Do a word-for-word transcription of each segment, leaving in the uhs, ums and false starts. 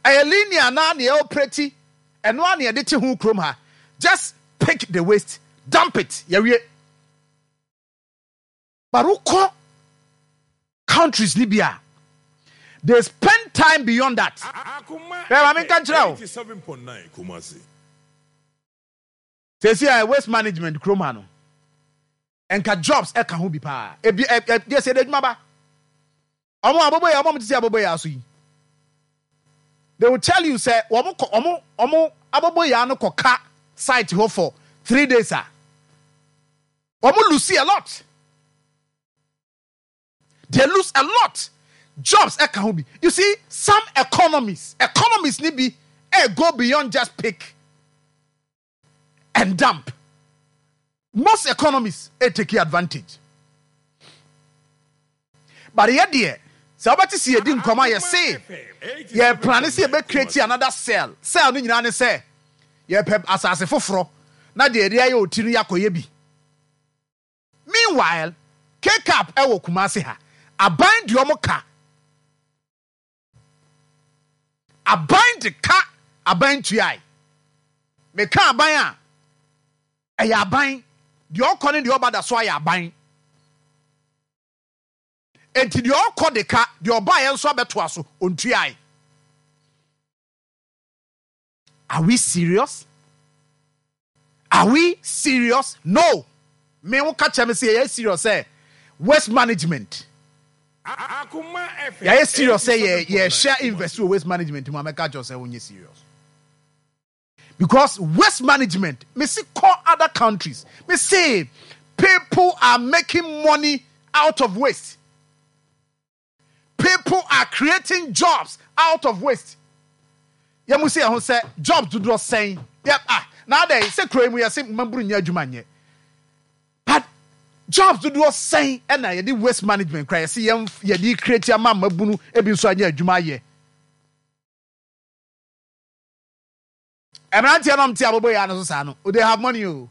Ɛyɛ linear naa na yɛ operate, ɛno ara na yɛde te ho kurom ha. Just pick the waste, dump it, yɛwie. But wokɔ countries ni bi a, they spend time beyond that. Akoma Bɛɛ maame nka nkyerɛ wo. eighty-seven point nine Kumasi. Sɛsi a waste management kurom ha no, nka jobs ɛka ho bi paa. Ebi ɛ ɛ deɛ sɛ ɛde adwuma ba. Ɔmo abobo yɛ, ɔmo a ɔmo te sɛ abobo yɛ aso yi, they will tell you sɛ wɔn kɔ ɔmo ɔmo abobo yɛ ano kɔ ka site hɔ for three days a, wɔn lose a lot. They lose a lot. Jobs ɛka ho bi. You see, some economies economies ni bi ɛ go beyond just pick and dump. Most economies ɛ take advantage, but yɛ deɛ, sɛ wobɛte si yɛdi nkɔmɔ a, yɛse yɛ plan sɛ yɛbɛ create another cell. Cell no nyinaa ne sɛ yɛpɛ asase foforɔ na deɛ yɛde ayɛ oti no, yɛakɔyɛ bi. Meanwhile, K C A P ɛwɔ Kumase ha, aban deɛ ɔmo ka, aban de ka, aban tuae. Meka aban a, ɛyɛ aban deɛ ɔkɔ ne deɛ ɔba da so ayɛ aban. Enti deɛ ɔkɔ de ka, deɛ ɔbaeɛ nso abɛtoa so ontuae. Are we serious? Are we serious? No, me wo ka kyerɛ me sɛ yɛyɛ serious sɛ waste management, Akoma F M yɛyɛ serious sɛ yɛ eighty-seven point nine yɛhyɛ invest wɔ waste management mu a, mɛka kyerɛ sɛ wonyɛ serious, because waste management, me si kɔ other countries, me say people are making money out of waste. People are creating jobs out of waste. Yɛn mu si yɛn ho sɛ jobs dodoɔ sɛn yɛ ah na adɛ sɛ kuro yi mu yɛsɛ mmabunu nyɛ adwuma nyɛ, but jobs dodoɔ sɛn ɛna yɛde waste management kora yɛsɛ yɛn yɛde create ama mmabunu ebi nso anyɛ adwuma ayɛ? Mmeranteɛ nom te abobo yɛ ano so saa no, they have money o.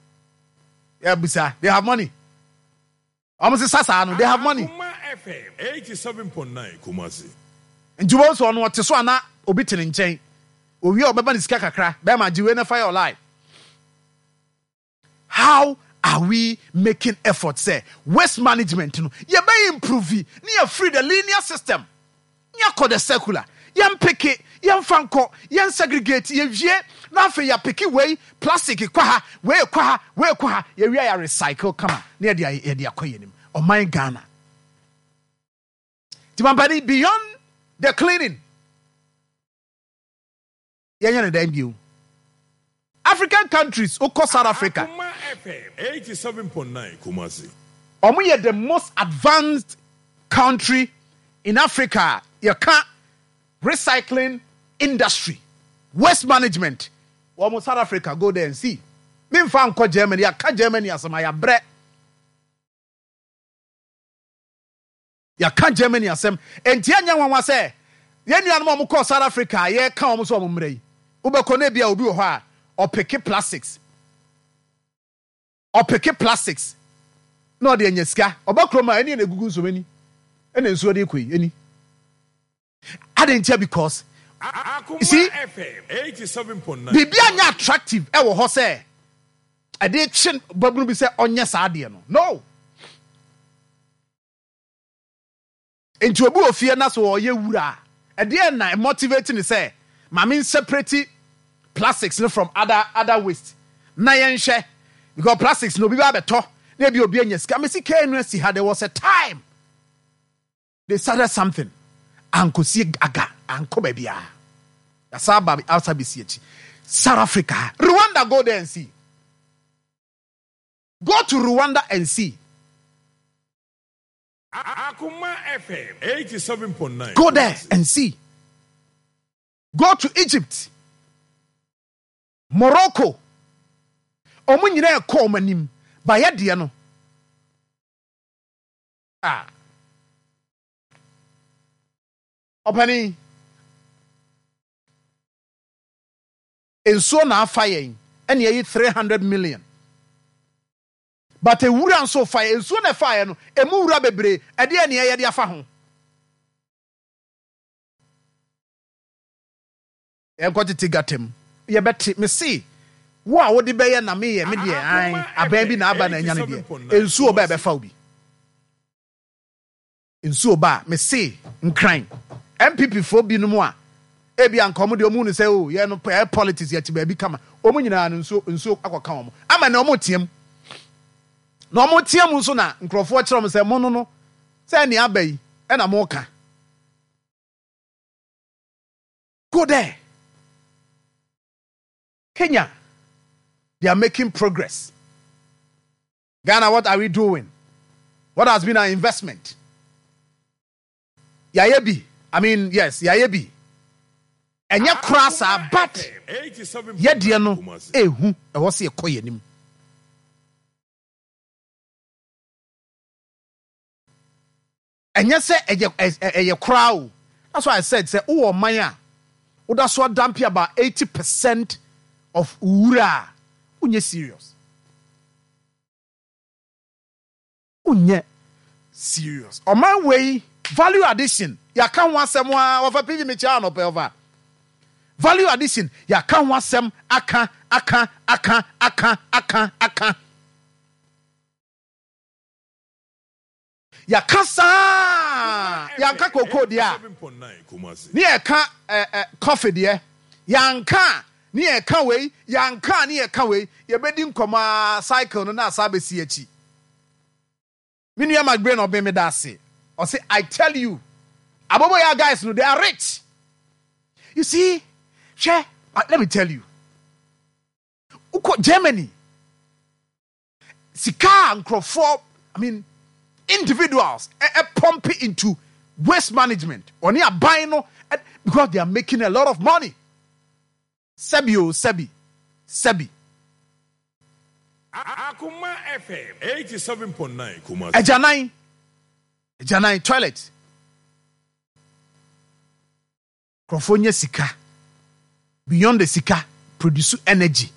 Yɛ they have money. Wɔn sisa saa no, they have money. Akoma F M eighty-seven point nine Kumasi. Nti wɔn nso ɔno ɔte so ana obi te ne nkyɛn owie a, ɔbɛba ne sika kakra bɛrima gye wei na fa yɛ ɔline. How are we making effort sɛ waste management no yɛbɛ improve ne yɛ free the linear system ne yɛkɔ the circular? Yɛn pick, yɛmfa nkɔ, yɛn segregate, yɛwie na afei yɛa pick wei, plastic kɔ ha, wei kɔ ha, wei kɔ ha, yɛwie a, yɛ recycle kama na yɛde yɛde akɔ yɛn anim. Ɔman Ghana nti mampani, beyond the cleaning, yɛnyɛ ne dan bio. African countries, wokɔ South Africa, Akoma F M eighty-seven point nine Kumasi. ɔmo yɛ the most advanced country in Africa. Yɛka recycling industry, waste management, wɔn South Africa, go there and see. Memfa nkɔ Germany. Yɛka Germany asɛm a, yɛabrɛ. Yɛka Germany asɛm enti ɛnyɛ nwanwa sɛ yɛn nuanom a wɔkɔɔ South Africa a yɛka wɔn sɛ wɔn mmerɛ yi, wobɛkɔ no, ebi a obi wɔ hɔ a ɔ pick plastics, ɔ pick plastics na ɔde anya sika. Ɔba kurom a, ɛne na egugu nsuom ani ɛna nsuo de kɔ yi ani adi ntia, because Akoma see, F M eighty-seven point nine biribi anya attractive ɛwɔ hɔ sɛ ɛde kye babunu bi sɛ ɔnyɛ saa adeɛ no no Nti obi wɔ fie na so ɔyɛ wura a, ɛdeɛ na motivate ne sɛ maame separate plastics no from other other waste na yɛnhwɛ, because plastics no obi ba abɛtɔ na ebi obi anya sika. Mesi kee no asi ha, there was a time they started something, ankosi aga, ankɔ baabiara, yasa aba asa besi akyi. South Africa, Rwanda, go there and see. Go to Rwanda and see. Akoma F M eighty-seven point nine Go there and see. Go to Egypt, Morocco, ɔmo nyinaa ɛkɔ ɔmo anim bayɛ deɛ no ah ɔpani nsuo na afa yɛn ɛna yɛyi three hundred million, but ewura nso fa yɛn. Nsuo na ɛfa yɛn no, emu wura bebree ɛdeɛ nea yɛde afa ho. Yɛnkɔ tete gutter mu, yɛbɛte. Me se wo a wode bɛyɛ na meyɛ me deɛ, an abɛn bi na aba na anya no deɛ, nsuo ba, ɛbɛfa wo bi. Nsuo ba a, me se Nkran N P P foɔ binom a ebi anka ɔmo deɛ, ɔmo nu sɛ o yɛ no ɛyɛ politics, yɛte baabi kama. Ɔmo nyinaa no, nsuo nsuo akɔka wɔn ama na ɔmo team na ɔmo team nso na nkurɔfoɔ kyerɛ ɔmo sɛ mo no no sɛ nea aba yi ɛna mo ka. Go there, Kenya, they are making progress. Ghana, what are we doing? What has been our investment? Yɛayɛ bi. I mean, yes, yɛayɛ bi, ɛnyɛ koraa saa, but yɛdeɛ no ehu ɛwɔ sɛ yɛkɔ yɛn anim. Ɛnyɛ sɛ ɛyɛ ɛyɛ koraa o. That's why I said sɛ wowɔ ɔman a woda so adump about eighty percent of wura a, wonyɛ serious, wonyɛ serious. Ɔman wei, value addition, yɛaka ho asɛm a wɔfa pigi mekyia anɔpɛ. Ɔfa value addition, yɛaka ho asɛm aka aka aka aka aka aka, yɛaka saa. Yɛanka koko deɛ a, ne yɛka ɛ ɛ coffee deɛ, yɛanka ne yɛka wei, yɛanka ne yɛka wei. Yɛbɛdi nkɔmɔ a, cycle no na asa abɛsi akyi. Me nua McBrain na ɔbɛn me da ase. Ɔsɛ, "I tell you, Aboboyaa guys no, they are rich." You see, hwɛ, let me tell you, wokɔ Germany, sika a nkurɔfoɔ, I mean individuals, ɛ ɛ pump into waste management ɔne aban no, because they are making a lot of money. Sɛbi o, sɛbi sɛbi. Akoma F M eighty-seven point nine Kumasi. Agyanan, agyanan, toilet, nkurɔfoɔ nyɛ sika beyond the sika, produce energy,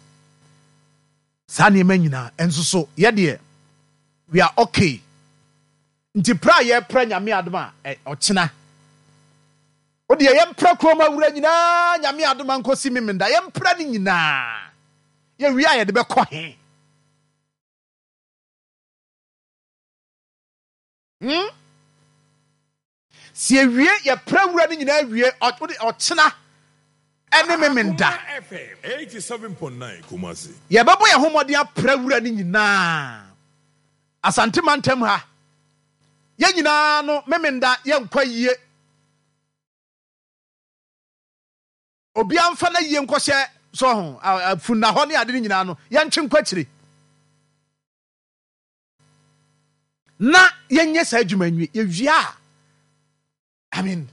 saa nneɛma nyinaa ɛnso so. Yɛdeɛ, we are okay. Nti pra a yɛpra, Nyame adom a, ɛ ɔkyena o deɛ, yɛmpra kurom awura nyinaa. Nyame adom a, nkɔsi Memenda, yɛmpra no nyinaa. Yɛwie a, yɛde bɛkɔ he? hmm? Si ewie, yɛpra wura no nyinaa wie, ɔkyena ɛne Memenda. Akoma F M eighty-seven point nine Kumasi. Yɛbɛbɔ yɛn ho mmɔden apra wura no nyinaa. Asante mantam ha, yɛn nyinaa no, Memenda yɛnkɔ yie. Obiara mfa na yie nkɔhyɛ so ho funna hɔ ne ade no nyinaa no, yɛntwe nkɔ akyire na yɛnyɛ saa adwuma nwie. Yɛwie a, I mean,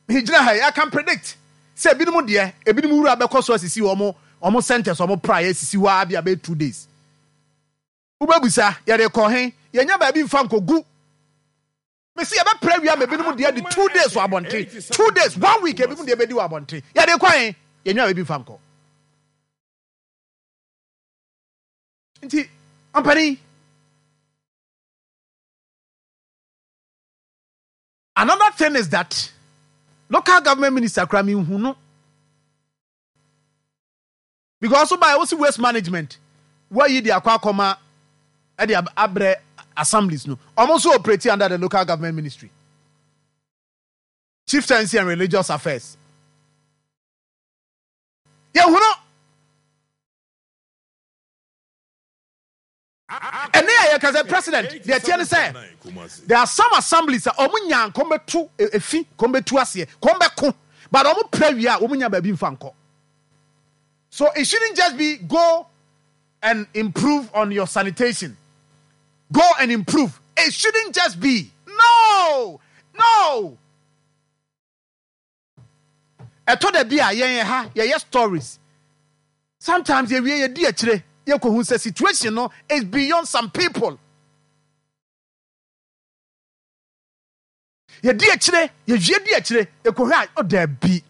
gyina ha yi, I can predict sɛ ebinom deɛ, ebinom wura bɛkɔ so asisi wɔn wɔn centers, wɔn pra yɛ sisi hɔ a bi abɛyɛ two days. Wobɛbusa, yɛde kɔ he? Yɛnya baabi mfa nkɔgu. Mesi yɛbɛpra wia ma ebinom deɛ de two days wɔ abɔnten, two days, one week, ebinom deɛ bɛdi wɔ abɔnten. Yɛde kɔ he? Yɛnya baabi mfa nkɔ. Nti ɔmpanin, another thing is that local government minister kura mi nhu no, because so by wosi waste management wayi de akɔ akɔma ɛde abrɛ assemblies no, ɔmo nso operate under the local government ministry, Chieftaincy and Religious Affairs. Yɛhunu ɛne a yɛka sɛ president deɛ tiɛ ne sɛ there are some assemblies a ɔmo nya nkɔm bɛtu efi, kɔm bɛtu aseɛ, kɔm bɛko, but ɔmo pɛ wie a, ɔmo nya baabi nfa nkɔ. So it shouldn't just be go and improve on your sanitation, go and improve. It shouldn't just be, no no Ɛtɔ da bi a, yɛn ha yɛyɛ stories sometimes, yɛwie, yɛdi akyire, yɛkɔhu sɛ situation no is beyond some people. Yɛdi akyire, yɛwie di akyire, yɛkɔhwɛ a, ɔda bi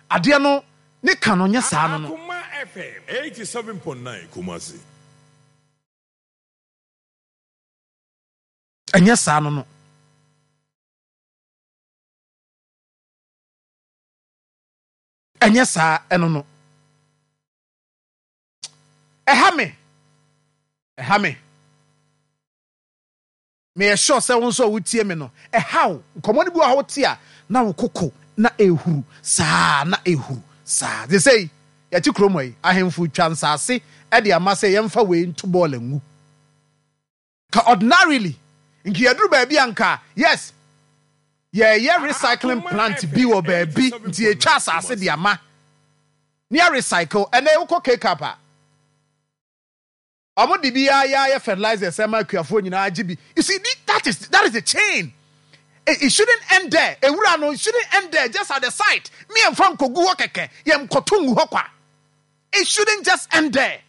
adeɛ no ne ka no nyɛ saa no no. Akoma F M eighty-seven point nine Kumasi. Ɛnyɛ saa no no. Ɛnyɛ saa. Ɛno no ɛha me, ɛha me. Meyɛ sure sɛ wo nso a wotie me no, ɛha wo. Nkɔmmɔ no bi wɔ ha, wote a, na wo koko na ehuru saa, na ehuru saa. De sɛ yɛte kurom yi, ahemfo twa nsase ɛde ama sɛ yɛmfa wei nto bɔɔla ngu. Ka ordinarily nka yɛduru baabi a, nka yes, yɛyɛ recycling plant bi wɔ baabi, nti yɛtwa asase de ama ne yɛ recycle. Ɛnɛ wokɔ K-Cap a, ɔmo de bi ayɛ ayɛ fertilizers ɛma akuafoɔ nyinaa gye bi. You see, that is that is the chain. it, it shouldn't end there. Ewura no, it shouldn't end there, just at the site. Mi yɛn fa nkogu hɔ kɛkɛ, yɛn nkɔto ngu hɔ kwa. It shouldn't just end there.